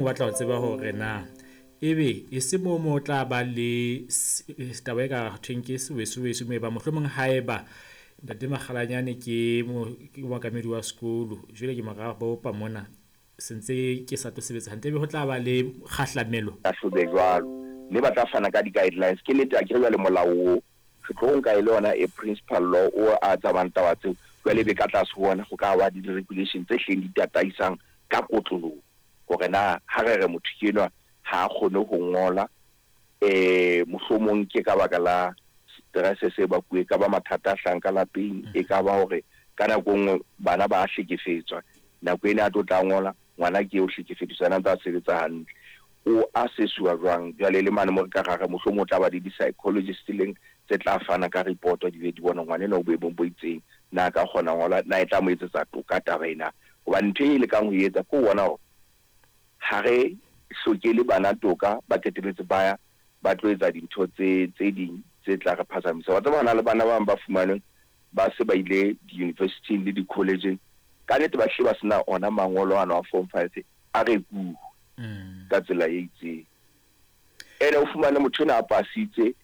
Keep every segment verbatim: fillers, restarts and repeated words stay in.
O batla ho tseba hore na ebe e se moo mo tla ba le taba e ka thweng ke seweseweso moo e bang mohlomong haeba ntate Makgalanyane ke mookamedi wa sekolo, jwale ke mora bopa mona se ntse ke sa tlo sebetsa hantle, ebe ho tla ba le kgahlamelo. Hlahlobe jwalo, mme ba tla fana ka di-guidelines. Ke nnete akere jwale molao o re tlo nka e le yona e principal law o a tsamayang taba tseo. Jwale ebe ka tlase ho ona ho ka ba le di-regulation tse hlileng di tataisang ka kotloloho hore na ha re re motho ke enwa ha a kgone ho ngola, um mohlomong ke ka baka la stress se bakuwe, e ka ba mathata a hlahang ka lapeng, e ka ba hore ka nako e nngwe bana ba hlekefetswa, nako ena a tlo tla ngola ngwana ke eo hlekefeditswe yena a ntse a sebetsa hantle, o assess-uwa jwang. Jwale le mane mo re ka ra re mohlomong o tla ba le di-psychologist leng tse tla fana ka report, di be di bona ngwana enwa o boemong bo itseng, na a ka kgona ho ngola, na e tla mo etsetsa toka taba ena. Hobane ntho e lekang ho etsa ke ho bona hore ha re hlokele bana toka, ba qetelletse ba ya ba tlo etsa dintho tse tse ding tse tla re phazamisa. Wa tseba hona le bana ba bang ba fumanweng ba se ba ile di-university-ing le di-college-eng, ka nnete ba hlile ba sena ona mangolo ano a form five a rekuwe ka tsela e itseng. Ene o fumane motho enwa a pasitse,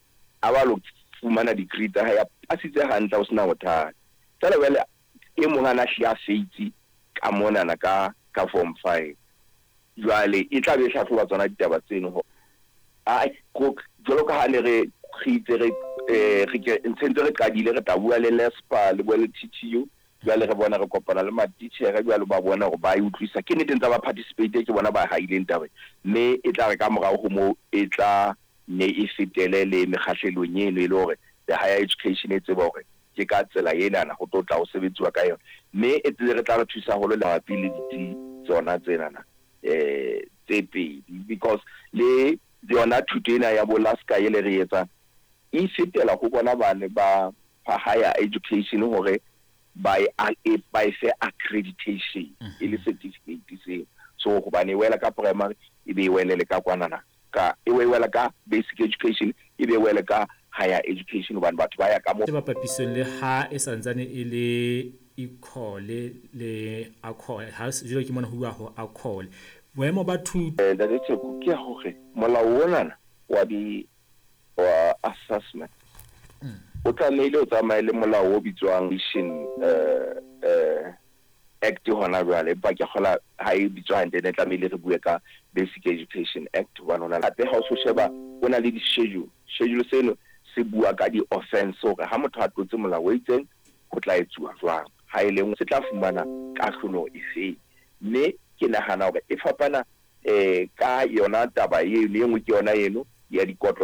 a ba lo fumana degree tsa hae, a pasitse hantle ho sena bothata. Feela jwale e mong ana hlile a feitse ka monana ka ka form five. Jwale e tla be e hlahloba tsona ditaba tseno hore jwalo ka ha ne re re itse re re ke ntse re qadile re tla bua le LESPA le bua le T T U. Jwale re bona re kopana le matitjhere jwale ba bona hore ba e utlwisa. Ke nnete ntse ba participate, ke bona ba haileng taba, mme e tla re ka morao ho moo e tla ne e fetele le mekgahlelong eno e le hore the higher education e tseba hore ke ka tsela enana ho tlo tla ho sebetsiwa ka yona, mme e tsebe re tla re thusa haholo le mabapi le ditsi tsona tsenana eh tse pedi, because le yona thuto ena ya bo Laska e le re etsang e fetela ho bona bane ba higher education hore ba e ba e fe accreditation e le certificate seo. So hobane e wela ka primary e be e wele le ka kwanana ka e wela ka basic education e be e wele ka higher education, hobane batho ba ya ka mo ba papisong le ha e santsane e le equal le accord ha jwale ke mona ho bua ho accord boemo ba thuto. Ntate Tsheko, ke hore molao onana wa di wa assessment o tlamehile o tsamaye le molao o bitswang Act hona jwale, empa ke kgola ha e bitswa hantle ne tlamehile re bue ka Basic Education Act, hobane hona hape ha o so sheba o na le di-schedule. Schedule seno se bua ka di-offense hore ha motho a tlotse molao o itseng ho tla etsuwa jwang, ha e leng se tla fumana kahlolo efeng. Mme ke nahana hore e fapana eh ka yona taba eno, e nngwe ke yona eno ya dikotlo.